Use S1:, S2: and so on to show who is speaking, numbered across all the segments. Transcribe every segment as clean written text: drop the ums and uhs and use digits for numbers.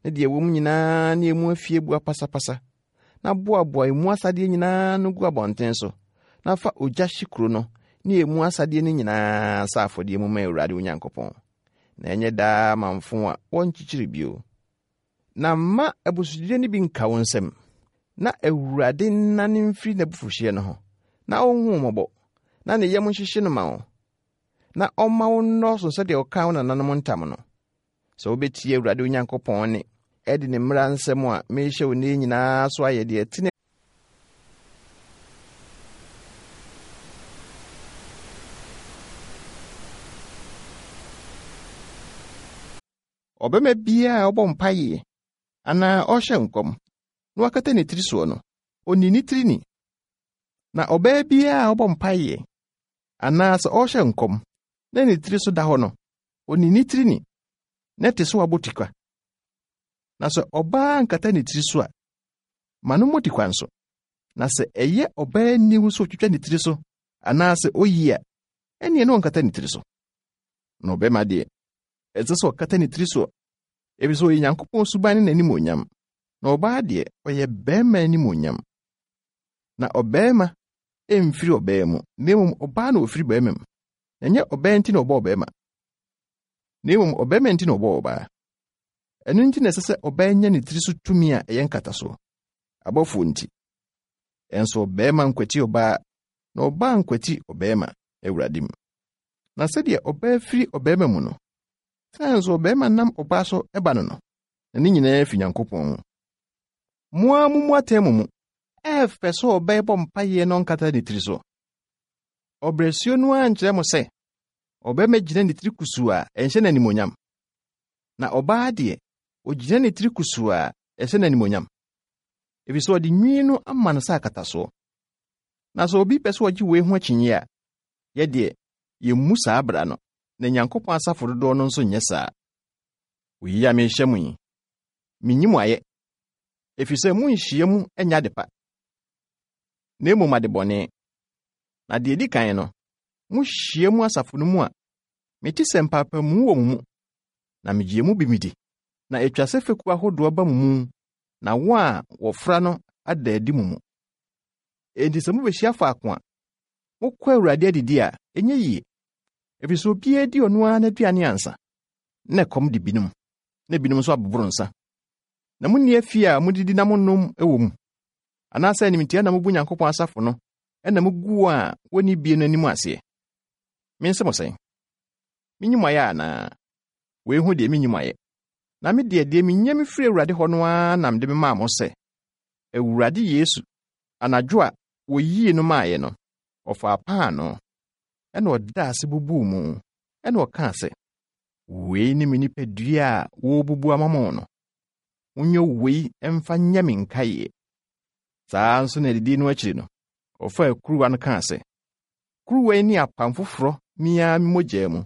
S1: ne deɛ ɛwɔ mu nyinaa ne emu afieboa pasapasa, na boaboa emu asadeɛ nyinaa ano gu abɔnten so, na fa ogya hye kuro no ne emu asadeɛ no nyinaa sɛ afɔdeɛ mu ma Awurade wo Nyankopɔn, na ɛnyɛ daa amamfo a wɔnkyekyere bio. Na mma abusudeɛ no bi nka wo nsam, na Awurade nnane mfiri n'abufuhyeɛ no ho, na ɔnhu wo mmɔbɔ, na ne yam nhyehye no ma wo, na ɔmma wo nnɔɔso sɛdeɛ ɔkaa wo nananom ntam no. Sɛ wobɛtie Awurade wo Nyankopɔn nne, adi ne mmara nsɛm a merehyɛ wo nnɛ yi nyinaa so ayɛ deɛ ɛtene Ɔbarima biara a ɔbɔ mpaeɛ anaa ɔhyɛ nkɔm na wakata ne tiri soɔ no, ɔnni ne tiri ni. Na ɔbaa biara a ɔbɔ mpaeɛ anaa sɛ ɔrehyɛ nkɔm na ne tiri so da hɔ no, ɔnni ne tiri ni, na ɛte sɛ wabɔ tikwa. Na sɛ ɔbaa nkata ne tiri so a, ma no mmɔ tikwa nso. Na sɛ ɛyɛ ɔbaa aniwu sɛ ɔtwitwa ne tiri so anaasɛ oyi a, ɛnneɛ na ɔnkata ne tiri so. Na ɔbarima deɛ, ɛsɛ sɛ ɔkata ne tiri soɔ, efisɛ ɔyɛ Nyankopɔn suban ne n'animuonyam, na ɔbaa deɛ, ɔyɛ barima animuonyam. Na ɔbarima mfiri ɔbaa mu, na mmom ɔbaa na ɔfiri barima mu. Na ɛnyɛ ɔbaa nti na ɔbɔɔ ɔbarima, na mmom ɔbarima nti na ɔbɔɔ ɔbaa. Ɛno nti na ɛsɛ sɛ ɔbaa nya ne tiri so tumi a ɛyɛ nkatasoɔ, abɔfoɔ nti. Ɛnso ɔbarima nkwati ɔbaa, na ɔbaa nkwati ɔbarima, Awurade mu. Na sɛdeɛ ɔbaa firi ɔbarima mu no, saa nso ɔbarima nam ɔbaa so ba no no, na ne nyinaa fi Nyankopɔn mu. Mo ara mummu atɛn mo mu. Ɛyɛ fɛ sɛ ɔbaa bɔ mpaeɛ na ɔnkata ne tiri so. Ɔbrɛsuo no ara nkyerɛ mo sɛ ɔbarima gyina ne tiri kusuu a ɛnhyɛ no animuonyam, na ɔbaa deɛ, ɔgyina ne tiri kusuu a ɛhyɛ no animuonyam, ɛfiri sɛ ɔde nwi no ama no sɛ akatasoɔ. Na sɛ obi pɛ sɛ ɔgye wei ho akyinnye a, yɛ deɛ, yɛmmu saa bra no, na Nyankopɔn asafo dodoɔ no nso nyɛ saa. Wei a merehyɛ mo yi, menyi mo ayɛ, ɛfiri sɛ monhyia mu nyɛ adepa, na mmom adebɔne. Na deɛ ɛdi kan no, mohyia mu asafo no mu a, mete sɛ mpaapaemu wɔ mo mu, na megye mu bi medi. Na ɛtwa sɛ fekuo ahodoɔ ba mo mu, na wɔn a wɔfra no ada adi mo mu. Enti sɛ mobɛhyia faako a, mokɔ Awurade adidi a, ɛnyɛ yie, ɛfiri sɛ obiara di ɔno ara n'aduane ansa, na ɛkɔm de binom, na binom nso aboboro nsa. Na monni afie a modidi na monom wɔ mu, anaasɛ animtia na mobu Nyankopɔn asafo no na mugu wɔn a wonni bie no anim aseɛ. Mense mo sɛn? Menyi mo ayɛ anaa? Wei ho deɛ menyi mo ayɛ. Na me deɛ, deɛ menya mefiri Awurade hɔ no ara na mede memaa mo sɛ, Awurade Yesu, anadwo a wɔyii no maeɛ no, ɔfaa paanoo, ɛnna ɔdaa ase bubuu mu, ɛnna ɔkaa sɛ, Wei ne me nipadua a wɔrebubu ama mo no. Monyɛ wei mfa nyɛ me nkaeɛ. Saa ara nso na adidi no akyiri no, ɔfaa kuruwa no kaa sɛ, Kuruwa yi ne apam foforɔ me ara me mogya mu.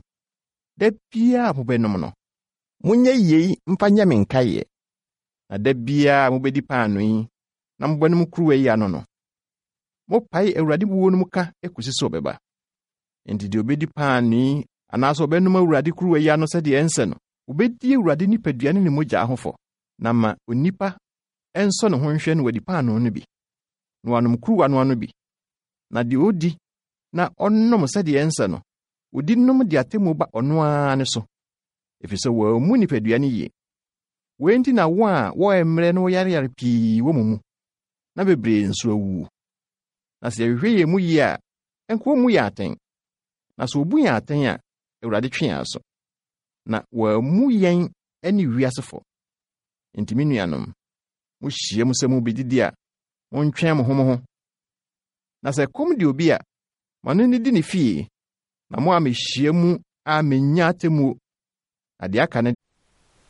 S1: Da biara a mobɛnom no, monyɛ yei mfa nyɛ me nkaeɛ. Na da biara a mobɛdi paanoo yi na mobɛnom kuruwa yi ano no, mopae Awurade wuo no mu ka kɔsi sɛ ɔbɛba. Enti deɛ ɔbɛdi paanoo yi anaasɛ ɔbɛnom Awurade kuruwa yi ano sɛdeɛ ɛnsɛ no, ɔbɛdi Awurade nipadua ne ne mogya ho fɔ. Na ma onipa nsɔ ne ho nhwɛ na wadi paanoo no bi, na wanom kuruwa no ano bi. Na deɛ ɔdi na ɔnom sɛdeɛ ɛnsɛ no, ɔdi nom de atemmuo ba ɔno ara ne so, ɛfiri sɛ wammu nipadua no yie. Wei nti na wɔn a wɔyɛ mmerɛ na wɔyareyare pii wɔ mo mu, na bebree nso awuwu. Na sɛ yɛhwehwɛ yɛn mu yie a, ɛnka wɔmmu yɛn atɛn. Na sɛ wɔbu yɛn atɛn a, Awurade twe yɛn aso, na wɔammu yɛn ne wiase fɔ. Enti me nuanom, mohyia mu sɛ mobɛdidi a, montwɛn mo ho mo ho. Na sɛ ɛkɔm de obi a, ma no nnidi ne fie, na mo a mehyia mu a mennya atemmuo. Na deɛ aka no